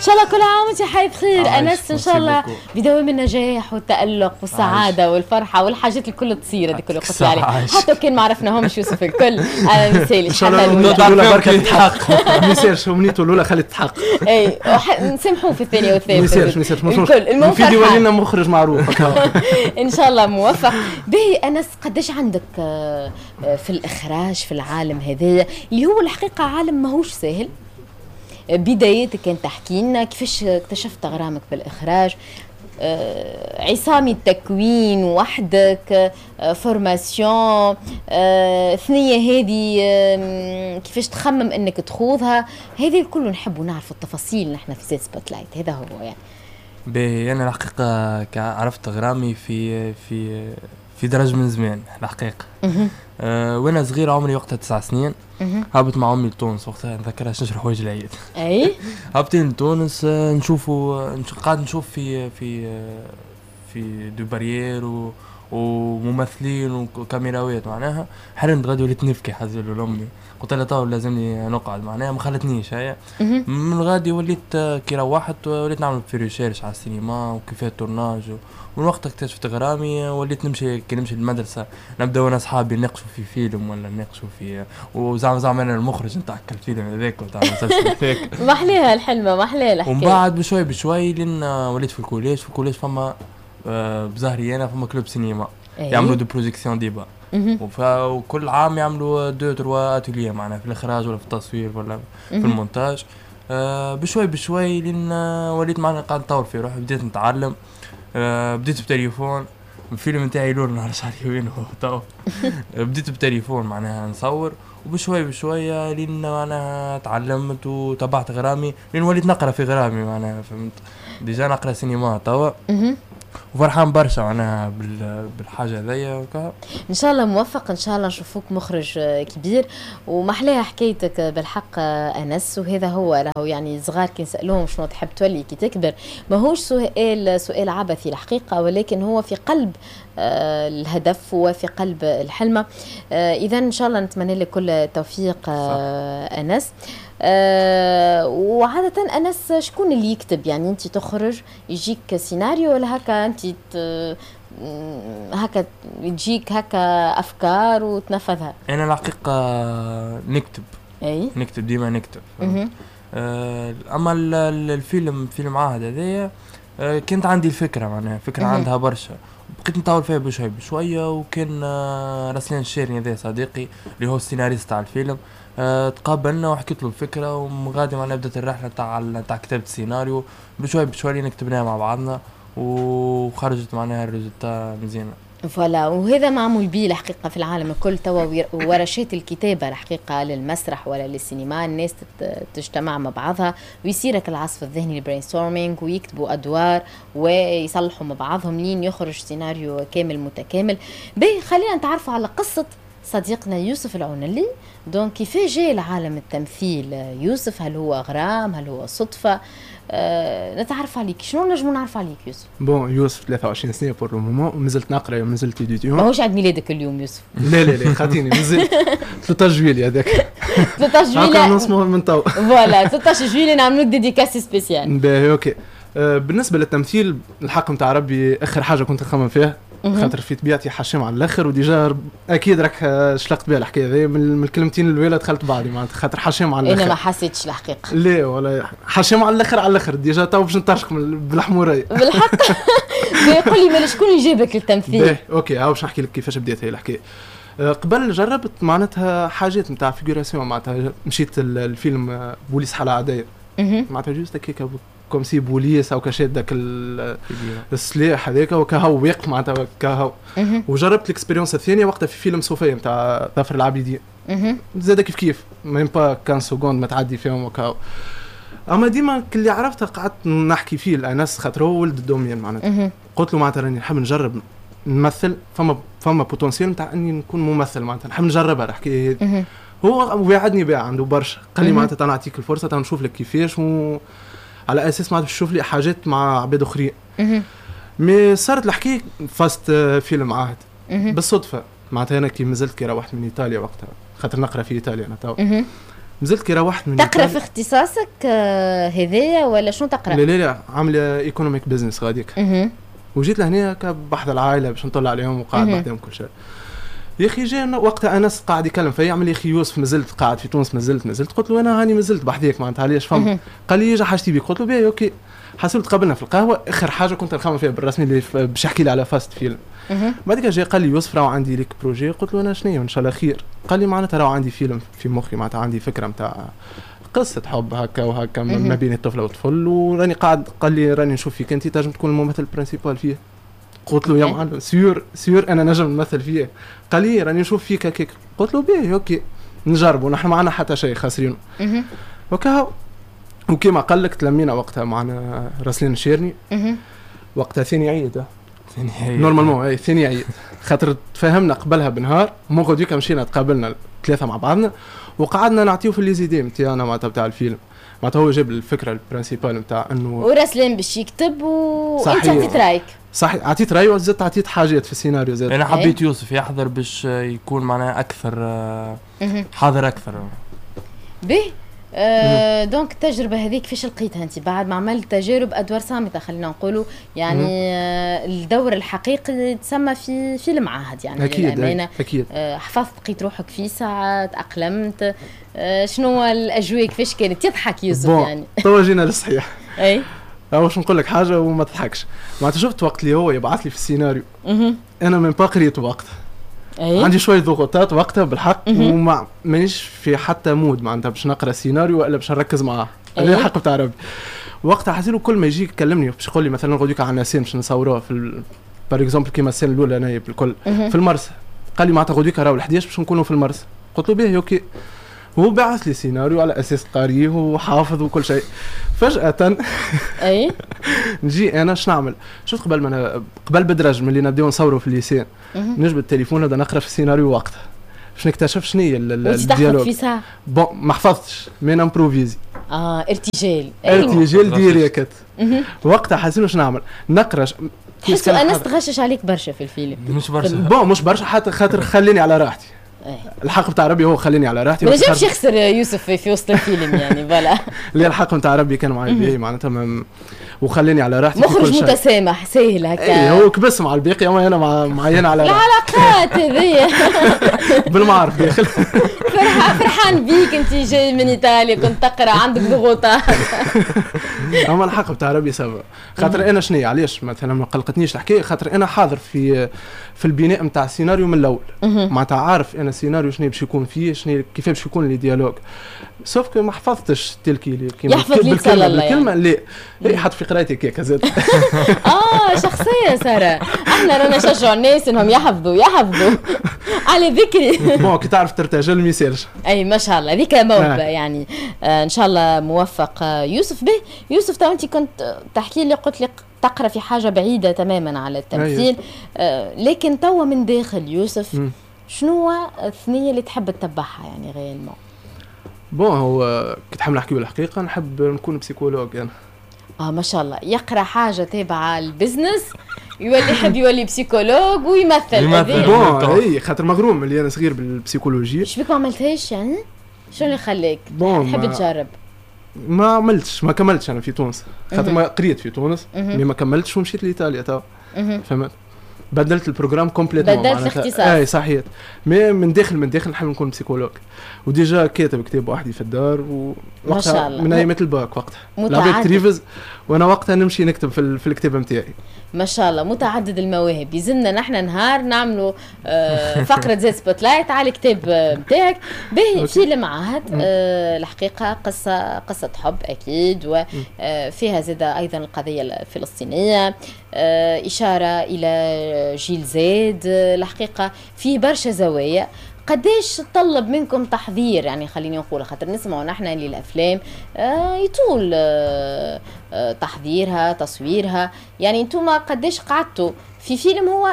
شاء الله كل عام وانت حي بخير انس، ان شاء الله بدوام النجاح والتالق والسعادة والفرحه والحاجات الكل تصير هذيك اللي قلت عليها، حتى كان ما عرفناهمش يوسف الكل. انا مثالي ان شاء الله الاولى بركة تتحقق، ما يصيرش امنيته الاولى خلي تتحقق. اي نسامحوه في الثانية والثالثة، ما يصيرش ما يصيرش الكل، المهم يولي لنا مخرج معروف. ان شاء الله موفق. باهي انس، قداش عندك في الاخراج في العالم هذايا اللي هو الحقيقة عالم ماهوش ساهل؟ بداياتك كان تحكي لنا كيفاش اكتشفت غرامك بالاخراج، عصامي التكوين وحدك، formation، ثنية هذه كيفاش تخمم انك تخوضها، هذه الكل نحبوا نعرفوا التفاصيل نحن في زاد spotlight. هذا هو يعني. باهي، انا الحقيقة عرفت غرامي في في في درج من زمان الحقيقة. وانا صغير عمري وقتها 9 سنين، هبط مع امي لتونس وقتها، نذكرها نشري حوايج العيد. اي هابطين لتونس، نشوفوا قاعد نشوف في في في des barrières وممثلين وكاميراوات معناها، حرمت غادي وليت نبكي حزل لامي، قلت لها تو لازمني نقعد معناها، ما خلتنيش هي. من غادي وليت كي روحت وليت نعمل في recherche على السينما وكيفاه ال tournage، ومن وقت اكتشفت غرامي وليت نمشي، كي نمشي للمدرسة نبدا وانا اصحابي نناقشوا في فيلم ولا نناقشوا في وزعما زعما انا المخرج نتاع الفيلم هذاك وتاع المسلسل هذاك. ما احلاها الحلمه، ما احلاها الحكاية. ومن بعد بشوي بشوي لين وليت في ال collège، في ال collège فما بزهري انا فما club cinéma يعملوا des projections débat، وكل عام يعملوا deux trois ateliers معناها في الاخراج ولا في التصوير ولا في المونتاج. بشوي بشوي لين وليت معناها قاعد نطور في روحي، بديت نتعلم. بديت بتليفون، الفيلم نتاعي الاول ما نعرفش عليه وين هو تو. بديت بتليفون معناها نصور، وبشوي بشوية لين معناها تعلمت وتبعت غرامي لين وليت نقرا في غرامي معناها، فهمت؟ déjà نقرا سينما توا وفرحان برشا معناها بالحاجة هذيا. ان شاء الله موفق، ان شاء الله نشوفوك مخرج كبير، ومحلاها حكايتك بالحق انس. وهذا هو راهو يعني صغار كي نسالوهم شنو تحب تولي كي تكبر، ماهوش سؤال عبثي الحقيقة، ولكن هو في قلب الهدف وفي قلب الحلمة. اذا ان شاء الله نتمنى لك كل التوفيق انس. وعادة أنس شكون اللي يكتب؟ يعني أنت تخرج يجيك سيناريو ولا هكا أنت هكا تجيك هكا أفكار وتنفذها؟ أنا الحقيقة نكتب. أي؟ نكتب ديما نكتب. أما الفيلم فيلم عهد هذايا كانت عندي الفكرة معناها فكرة عندها برشا، بقيت نطور فيها بشوي بشوية. وكان رسلان الشيرني هذا صديقي اللي هو السيناريست تاع الفيلم، تقابلنا وحكيت له الفكرة، ومغادي معنا بدات الرحلة تاع كتابه السيناريو بشوي بشوي نكتبناها مع بعضنا، وخرجت معناها ال résultat مزيانه. voilà، وهذا معمول به الحقيقة في العالم الكل توا، ورشات الكتابة الحقيقة للمسرح ولا للسينما، الناس تجتمع مع بعضها ويصيرك العصف الذهني ال brainstorming، ويكتبوا ادوار ويصلحوا مع بعضهم لين يخرج سيناريو كامل متكامل. باهي، خلينا نتعرفوا على قصة صديقنا يوسف العونلي. donc كيفاش جاء لعالم التمثيل يوسف؟ هل هو غرام؟ هل هو صدفة؟ نتعرف عليك، شنو نجمو نعرف عليك يوسف؟ bon يوسف 23 سنة pour le moment، مازلت نقرا ومازلت étudiant. ماهوش عيد ميلادك اليوم يوسف؟ لا لا لا خاطيني، مازلت 13 جويلية هذاك. 13 جويلية من تو. voilà 13 جويلية نعملوك dédicace spéciale. باهي OK. بالنسبة للتمثيل الحق نتاع ربي اخر حاجة كنت نخمم فيها، خاطر في طبيعتي حشام على الاخر، و déjà اكيد راك شلقت بها الحكاية هذه من الكلمتين الاولى دخلت بعضي معناتها، خاطر حشام على الاخر. انا ما حسيتش الحقيقة. لا ولا حشام على الاخر على الاخر، déjà تو باش نطرشق بالحموريه. بالحق. قول لي مالا شكون اللي جابك للتمثيل؟ باهي OK، هاو باش نحكي لك كيفاش بديت هي الحكاية. قبل جربت معناتها حاجات نتاع figuration، معناتها مشيت الفيلم بوليس حالة عادية، معناتها juste هكاك comme si بوليس او كشاد داك السلاح هذاك وكهو واقف معناتها كهو. وجربت ال expérience الثانية وقتها في فيلم صوفيا نتاع ظافر العابدين، زاد كيف كيف même pas 15 secondes ما تعدي فيهم وكهو. اما ديما اللي عرفتها قعدت نحكي فيه لانس خاطر هو ولد ال domaine معناتها، قلت له معناتها راني نحب نجرب نمثل، فما potentiel نتاع اني نكون ممثل معناتها نحب نجربها الحكاية هذه. هو وعدني بها عنده برشا، قال لي معناتها نعطيك الفرصة نشوف لك كيفاش، على اساس معناتها باش تشوف لي حاجات مع عباد اخرين. mais صارت الحكاية فاست فيلم عهد بالصدفة معناتها. انا كي مازلت كي روحت من ايطاليا وقتها، خاطر نقرا في ايطاليا انا تو. مازلت كي روحت من تقرا في اختصاصك هذايا ولا شنو تقرا؟ لا لا لا، عامله economic business غاديك. وجيت لهنا بحذا العائلة باش نطلع عليهم وقاعد بحذاهم كل شيء. يا اخي جا وقتها انس قاعد يكلم فيا، يعمل يا اخي يوسف مازلت قاعد في تونس، مازلت. قلت له انا هاني مازلت بحذاك معناتها علاش فهم. قال لي اجا حاجتي بيك، قلت له باهي OK. حسيت تقابلنا في القهوة، اخر حاجة كنت نخمم فيها بالرسمي اللي باش يحكي لي على فاست فيلم. بعد جا قال لي يوسف راهو عندي لك projet. قلت له انا شنو ان شاء الله خير. قال لي معناتها راهو عندي فيلم في مخي، معناتها عندي فكرة نتاع قصة حب هكا وهكا ما بين الطفلة والطفل، وراني قاعد. قال لي راني نشوف فيك انت تنجم تكون الممثل principal فيه. قلت له يا معلم sûr sûr انا نجم نمثل فيه. قال لي راني نشوف فيك هكاك. قلت له باهي OK نجربوا، نحن معنا حتى شيء خاسرينه. وكا وكيما قال لك تلمينا وقتها معنا راسلين الشيرني وقتها ثاني عيد normalement، اي ثاني عيد، خاطر تفاهمنا قبلها بنهار. من غدويك مشينا تقابلنا ثلاثة مع بعضنا وقعدنا نعطيو في les idées نتاعنا معناتها بتاع الفيلم. معناتها هو جاب الفكرة ال principale نتاع انه وراسلين باش يكتب وانت عطيت رايك. صحيح عطيت رايي وزدت عطيت حاجات في السيناريو زاد. انا حبيت يوسف يحضر باش يكون معناها اكثر حاضر اكثر. به donc التجربة هذيك كيفاش لقيتها انت بعد ما عملت تجارب ادوار صامته خلينا نقولوا يعني الدور الحقيقي تسمى في فيلم عهد يعني اكيد للأمانة. اكيد حفظت لقيت روحك في ساعة تأقلمت، شنو الاجواء كيفاش كانت؟ يضحك يوسف يعني توا جينا للصحيح. اي باش نقول لك حاجة وما تضحكش، معناتها شفت وقت اللي هو يبعث لي في السيناريو انا même pas قريت وقتها. أيه؟ عندي شوية ضغوطات وقتها بالحق وما مانيش في حتى mood معناتها باش نقرا سيناريو ولا باش نركز معاه. هذا الحق بتاع ربي. وقتها حسيت كل ما يجي يكلمني باش يقول لي مثلا غدوك عندنا scène باش نصوروها في par exemple كيما ال scène الاولى انايا بالكل في المرسى. قال لي معناتها غدوك راهو 11 باش نكونوا في المرسى. قلت له باهي OK. هو بعث لي سيناريو على اساس قارية وحافظ وكل شيء. فجاة اي نجي انا شنو نعمل؟ شفت قبل ما قبل بدرج من اللي نبداو نصوروا في ال les scènes نجبد التليفون نبدا نقرا في السيناريو وقتها باش نكتشف شنو هي ال dialogue. في ساعة bon ما حفظتش mais ن improviser. ارتجال ارتجال direct. وقتها حاسين شنو نعمل؟ نقرا. تحسوا انس تغشش عليك برشا في الفيلم؟ مش برشا bon مش برشا حتى خاطر خليني على راحتي. الحق بتاع ربي هو خليني على راحتي، ما نجمش يخسر يوسف في وسط الفيلم يعني voilà. لا الحق نتاع ربي كان معايا باهي معناتها وخليني على راحتي. مخرج متسامح ساهل هكا. اي هو كبس مع الباقي اما انا معين على راحتي. العلاقات هذيا بالمعرف داخل. فرحان بيك انت جاي من ايطاليا كنت تقرا عندك ضغوطات. اما الحق بتاع ربي ça va، خاطر انا شنو علاش مثلا ما قلقتنيش الحكاية، خاطر انا حاضر في البناء نتاع السيناريو من الاول، معناتها عارف انا السيناريو شنو باش يكون فيه، شنو كيف باش يكون les dialogues، sauf que ما حفظتش tel quel كيما بالكلمة بالكلمة لا لا حط في قرايتي كيك زاد. شخصية ساره، احنا رانا نشجعوا الناس انهم يحفظوا على ذكري. bon كي تعرف ترتجل ما يسالش. اي ما شاء الله هذيك موهبة يعني. ان شاء الله موفق يوسف. به يوسف تو انت كنت تحكي لي قلت لي تقرا في حاجة بعيدة تماما على التمثيل، لكن توا من داخل يوسف شنو الثنية اللي تحب تتبعها يعني réellement؟ bon هو كي تحب نحكي بالحقيقة نحب نكون psychologue انا. ما شاء الله، يقرا حاجة تابعه ال business يولي يحب يولي psychologue ويمثل. bon اي خاطر مغروم اللي انا صغير بال psychologie. شبيك ما عملتهاش يعني؟ شنو اللي خلاك تحب تجرب؟ ما عملتش، ما كملتش انا في تونس، خاطر ما قريت في تونس mais ما كملتش ومشيت لايطاليا تو. فهمت؟ بدلت ال programme complètement، بدلت الاختصاص. اي صحيح، mais من داخل نحب نكون psychologue، و déjà كاتب كتاب وحدي في الدار ووقتها من ايامات الباك وقتها العباد ت révise وانا وقتها نمشي نكتب في الكتاب نتاعي. ما شاء الله متعدد المواهب. يلزمنا نحن نهار نعملوا فقره زي spotlight على الكتاب نتاعك. باهي فيلم عهد الحقيقة قصة حب اكيد، وفيها زاد ايضا القضية الفلسطينية، اشارة الى جيل زاد. الحقيقة في برشا زوايا. قداش طلب منكم تحضير يعني خليني نقول، خاطر نسمعوا نحن اللي الافلام يطول تحضيرها تصويرها، يعني انتم قداش قعدتوا في فيلم هو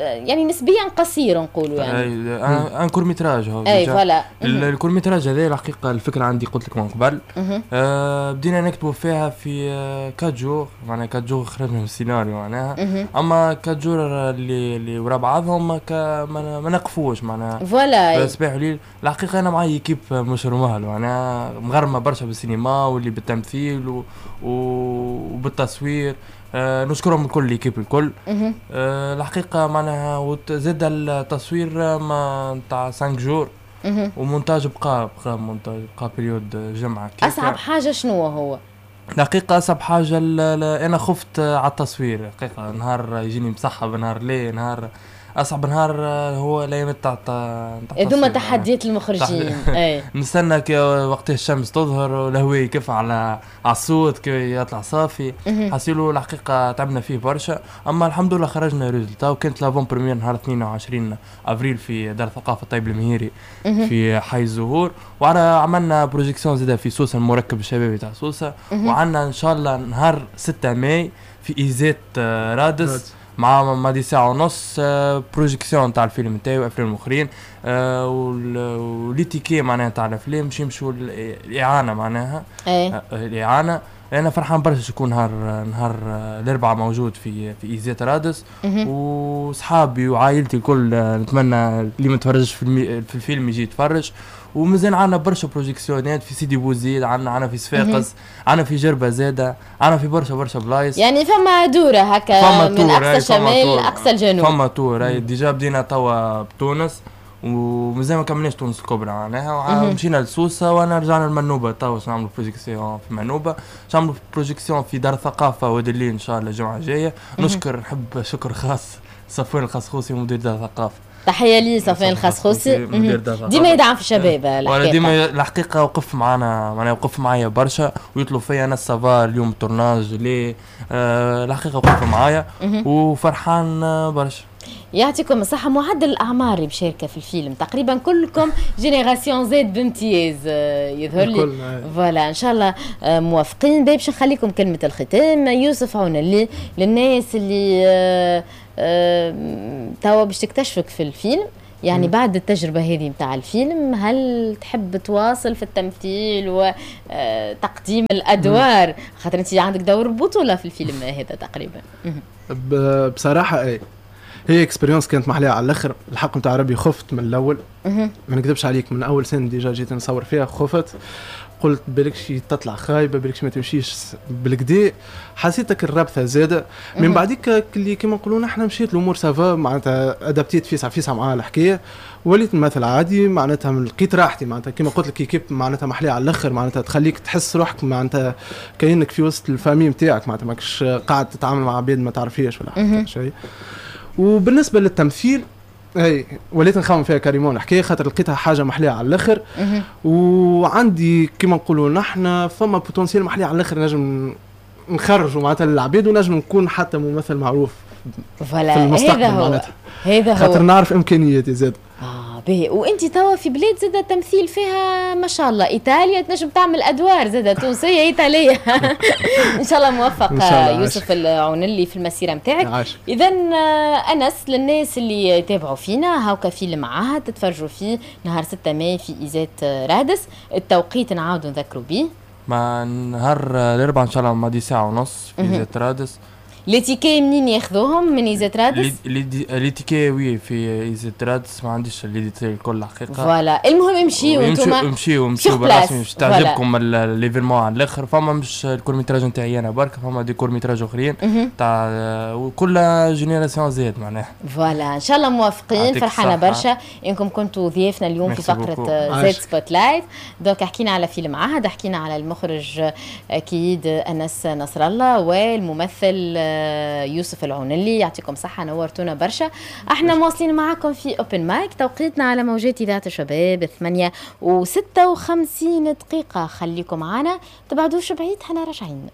يعني نسبيا قصير نقولوا يعني un court métrage هو. اي voilà ال court métrage هذا الحقيقة الفكرة عندي قلت لك من قبل، بدينا نكتبوا فيها في 4 jours، معناها 4 jours خرجنا من السيناريو معناها، اما 4 jours اللي ورا بعضهم ما نقفوش معناها voilà صباح وليل. الحقيقة انا معي équipe مش normale، معناها مغرمه برشا بالسينما واللي بالتمثيل وبالتصوير. نشكرهم الكل، l'équipe الكل. الحقيقة معناها زاد التصوير ما نتاع 5 jours ومونتاج بقى مونتاج بقى période جمعه. اصعب حاجة شنو هو؟ الحقيقة اصعب حاجة انا خفت على التصوير الحقيقه، نهار يجيني مسحب، نهار ليه، نهار اصعب نهار هو الايام تاع هذوما تحديات المخرجين. اي نستنى وقت الشمس تظهر والهواء يكف على الصوت كي يطلع صافي. حسيلو الحقيقة تعبنا فيه برشا، اما الحمد لله خرجنا résultat. وكانت l'avant-première نهار 22 افريل في دار الثقافة الطيب المهيري في حي الزهور، وعلى عملنا projection زاده في سوسة المركب الشبابي تاع سوسة، وعندنا ان شاء الله نهار 6 ماي في ISET رادس مع ماضي ساعة ونص projection تاع الفيلم نتاعي وافلام اخرين، و les tickets معناها تاع الافلام باش يمشوا الاعانة معناها. الاعانة انا فرحان برشا يكون نهار الاربعاء موجود في ISET رادس، وصحابي وعائلتي الكل نتمنى اللي ما تفرجش في الفيلم يجي يتفرج. ومازال عندنا برشا projection ات في سيدي بوزيد، عندنا في صفاقس، عندنا في جربه زاده، عندنا في برشا بلايص. يعني فما دوره هكا من اقصى الشمال لاقصى الجنوب، فما tour. déjà بدينا توا بتونس ومازال ما كملناش تونس الكبرى معناها، مشينا لسوسه وانا رجعنا لمنوبه توا باش نعملوا projection في منوبه، باش نعملوا projection في دار الثقافة وادي ان شاء الله الجمعة الجاية. نشكر، نحب شكر خاص صفوان الخصخوصي مدير دار الثقافة، تحية لي صفوان الخصخوصي ديما يدعم في الشباب الحقيقة، ديما الحقيقة وقف معنا معناها وقف معايا برشا ويطلب فيا انا ça va اليوم tournage ليه. الحقيقة وقف معايا وفرحان برشا. يعطيكم الصحة. معدل الأعمار اللي مشاركة في الفيلم تقريبا كلكم génération Z بامتياز يظهر لي. voilà إن شاء الله موافقين. باش نخليكم كلمة الختام يوسف عونلي للناس اللي توا باش تكتشفك في الفيلم، يعني بعد التجربة هذه متاع الفيلم هل تحب تواصل في التمثيل وتقديم الأدوار؟ خاطر أنت عندك دور بطولة في الفيلم هذا تقريبا. بصراحة اي هي expérience كانت محلية على الاخر. الحق نتاع ربي خفت من الاول، ما نكذبش عليك، من اول سنة déjà جيت نصور فيها خفت، قلت بالكش تطلع خايبة، بالكش ما تمشيش بالكدا، حسيتك الربثه زاده. من بعديك اللي كيما نقولوا نحن مشيت الامور ça va معناتها adaptيت فيسع فيسع مع الحكاية، وليت نمثل عادي معناتها، لقيت راحتي معناتها كيما قلت لك équipe معناتها محليه على الاخر، معناتها تخليك تحس روحك معناتها كأنك في وسط ال famille نتاعك، معناتها ماكش قاعد تتعامل مع عباد ما تعرفيش ولا حتى شيء. وبالنسبة للتمثيل اي وليت نخمم فيها carrément الحكاية، خاطر لقيتها حاجة محليه على الاخر، وعندي كيما نقولوا نحن فما potentiel محليه على الاخر نجم نخرجوا معناتها للعباد، ونجم نكون حتى ممثل معروف في المستقبل معناتها. هذا هو خاطر نعرف امكانياتي زاد. باهي. وانت توا في بلاد زاد التمثيل فيها ما شاء الله، ايطاليا تنجم تعمل ادوار زاد تونسية ايطالية. ان شاء الله موفق يوسف العونلي في المسيرة نتاعك. اذا انس للناس اللي يتابعوا فينا هاكا فيلم عهد تتفرجوا فيه نهار 6 ماي في ISET رادس، التوقيت نعاودوا نذكروا به مع نهار الاربعاء ان شاء الله ماضي ساعة ونص في ISET رادس. les tickets منين ياخذوهم؟ من ISET رادس؟ les tickets oui في ISET رادس، ما عنديش les détails الكل الحقيقة. voilà المهم امشيو انتوما، امشيو بالرسمي باش تعجبكم l'événement على الاخر. فما مش ال court métrage نتاعي انا برك، فما des courts métrages اخرين تاع وكل génération Z معناها. voilà ان شاء الله موافقين. فرحانة برشا انكم كنتوا ضيافنا اليوم في فقره Z Spotlight. donc حكينا على فيلم عهد، حكينا على المخرج اكيد انس نصر الله والممثل يوسف العونلي. يعطيكم صحة، نورتونا برشا. احنا مواصلين معاكم في Open Mic، توقيتنا على موجات إذاعة الشباب 8:56. خليكم معنا، تبعدوش بعيد، احنا راجعين.